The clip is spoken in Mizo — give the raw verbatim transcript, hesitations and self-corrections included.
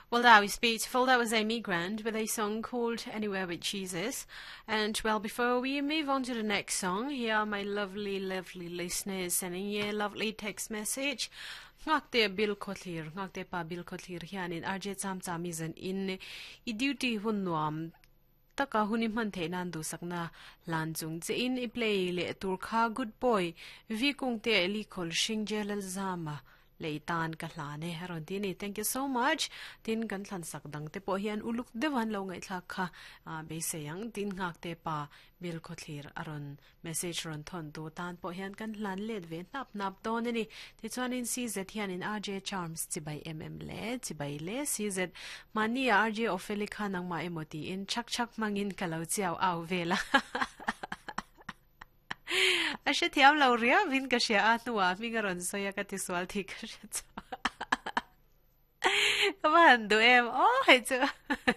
Well, that was beautiful. That was Amy Grant with a song called Anywhere with Jesus. And well, before we move on to the next song, here are my lovely, lovely listeners sending you a lovely text message. Ngakte bil khotlir, ngakte pa bil khotlir hianin RJ cham chami zan in i duty hun nuam taka huni man the nan du sakna lan chung che in i play le tur kha good boy vi kung te li khol shing jelal zama leitan ka hlane haron ti ni thank you so much tin kan thlan sak dang te po hian uluk dewan lo ngai thla kha be seyang tin ngak te pa bil khothlir aron message ron thon tu tan po hian kan hlan let ve nap nap don ani ti chuan in cz hian in rj charms chibai mm le chibai le cz mani rj ofeli kha nang ma emoti in chak chak mangin kalau chiao aw vela a she thiam lo ria vin ka she a nuwa mi nga ron soya ka ti swal thi ka she cha ka man du em o hai chu